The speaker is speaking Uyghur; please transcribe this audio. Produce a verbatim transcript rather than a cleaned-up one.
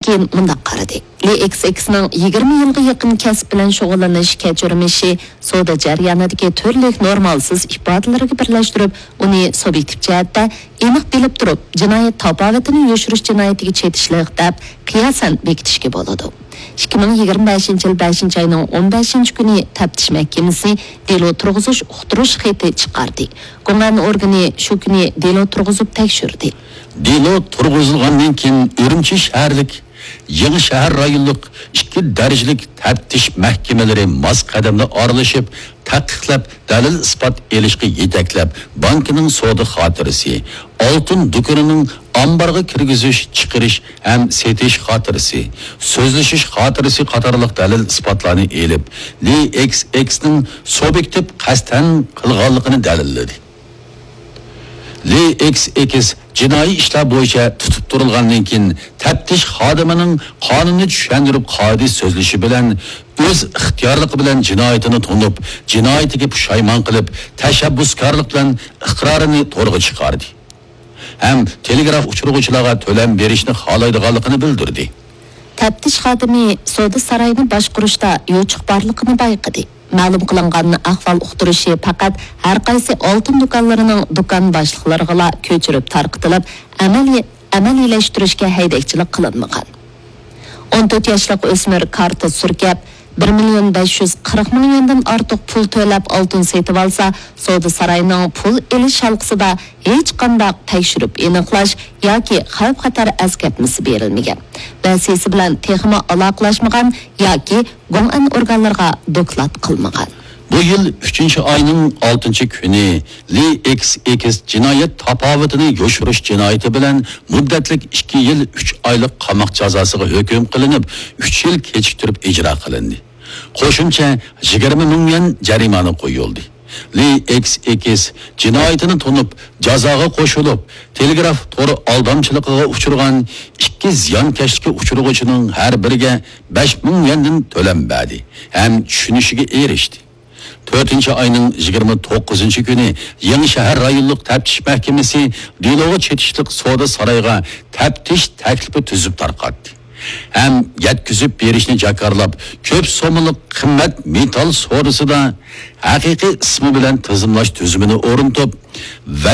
كېيىن مۇنداق قارىدى: لى ئېكس ئېكسنىڭ يىگىرمە يىلغا يېقىن كەسىپ بىلەن شۇغۇللىنىش كەچۈرمىشى سودا جەريانىدىكى تۈرلۈك نورمالسىز ئىپادىلىرىگە بىرلەشتۈرۈپ، ئۇنى سۇبيېكتىپ جەھەتتە ئېنىق بىلىپ تۇرۇپ، جىنايەت تاپاۋىتىنى يوشۇرۇش جىنايىتىگە چېتىشلىق دەپ قىياسەن بېكىتىشكە بولىدۇ. ئىككى مىڭ يىگىرمە بەشىنچى يىل بەشىنچى ئاينىڭ ئون بەشىنچى كۈنى تەپتىش مەھكىمىسى دېلو تۇرغۇزۇش ئۇقتۇرۇش خېتى چىقاردى. گوڭئەن ئورگىنى شۇ كۈنى دېلو تۇرغۇزۇپ تەكشۈردى. دېلو تۇرغۇزۇلغاندىن كېيىن، ئۈرۈمچى شەھەرلىك يېڭى شەھەر رايونلۇق ئىككى دەرىجىلىك تەپتىش مەھكىمىلىرى ماس قەدەمدە ئارىلىشىپ، تەھقىقلەپ، دەلىل-ئىسپات ئېلىشقا يېتەكلەپ، بانكىنىڭ سودا خاتىرىسى، ئالتۇن دۇكىنىنىڭ ئامبارغا كىرگۈزۈش، چىقىرىش ھەم سېتىش خاتىرىسى، سۆزلىشىش خاتىرىسى قاتارلىق دەلىل-ئىسپاتلارنى ئېلىپ، لى ئېكس ئېكسنىڭ سۇبيېكتىپ قەستەن قىلغانلىقىنى دەلىللىدى. لى ئېكس ئېكس جىنايى ئىشلار بويىچە تۇتۇپ تۇرۇلغاندىن كېيىن، تەپتىش خادىمىنىڭ قانۇننى چۈشەندۈرۈپ، قائىدە سۆزلىشى بىلەن ئۆز ئىختىيارلىقى بىلەن جىنايىتىنى تونۇپ، جىنايىتىگە پۇشايمان قىلىپ، تەشەببۇسكارلىق بىلەن ئىقرارىنى تورغا چىقاردى ھەم تېلېگراف ئۇچۇرغۇچىلارغا تۆلەم بېرىشنى خالايدىغانلىقىنى بىلدۈردى. تەپتىش خادىمى سودا سارايىنى باشقۇرۇشتا يوچۇق بارلىقىنى بايقىدى. مەلۇم قىلىنغان ئەھۋال ئۇقتۇرۇشى پەقەت ھەر قايسى ئالتۇن دۇكانلىرىنىڭ دۇكان باشلىقلىرىغىلا كۆچۈرۈپ تارقىتىلىپ، ئەمەلىي-، ئەمەلىيلەشتۈرۈشكە ھەيدەكچىلىك قىلىنمىغان. ئون تۆت ياشلىق ئۆسمۈر كارتا سۈركەپ، بىر مىليون بەش يۈز قىرىق مىڭ يۈەندىن ئارتۇق پۇل تۆلەپ ئالتۇن سېتىۋالسا، سودا سارايىنىڭ پۇل ئېلىش ھالقىسىدا ھېچقانداق تەكشۈرۈپ ئېنىقلاش ياكى خەۋپ-خەتەر ئەسكەرتمىسى بېرىلمىگەن. مەسىلىسى بىلەن تېخىمۇ ئالاقىلەشمىگەن ياكى گوڭئەن ئورگانلىرىغا دوكلات قىلمىغان. بۇ يىل ئۈچىنچى ئاينىڭ ئالتىنچى كۈنى لى ئېكس ئېكس جىنايەت تاپاۋىتىنى يوشۇرۇش جىنايىتى بىلەن مۇددەتلىك ئىككى يىل ئۈچ ئايلىق قاماق جازاسىغا ھۆكۈم قىلىنىپ، ئۈچ يىل كېچىكتۈرۈپ ئىجرا قىلىندى. قوشۇمچە يىگىرمە مىڭ يۈەن جەرىمانە قويۇلدى. لى ئېكس ئېكس جىنايىتىنى تونۇپ، جازاغا قوشۇلۇپ، تېلېگراف تور ئالدامچىلىقىغا ئۇچرىغان ئىككى زىيانكەشلىككە ئۇچرىغۇچىنىڭ ھەر بىرىگە بەش مىڭ يۈەندىن تۆلەم بەردى ھەم چۈشىنىشىگە ئېرىشتى. تۆتىنچى ئاينىڭ يىگىرمە توققۇزىنچى كۈنى يېڭى شەھەر رايونلۇق تەپتىش مەھكىمىسى دېلوغا چېتىشلىق سودا سارايغا تەپتىش تەكلىپى تۈزۈپ تارقاتتى ھەم يەتكۈزۈپ بېرىشنى جاكارلاپ، كۆپ سوممىلىق قىممەت مېتال سودىسىدا ھەقىقىي ئىسمى بىلەن تىزىملاش تۈزۈمىنى ئورنىتىپ،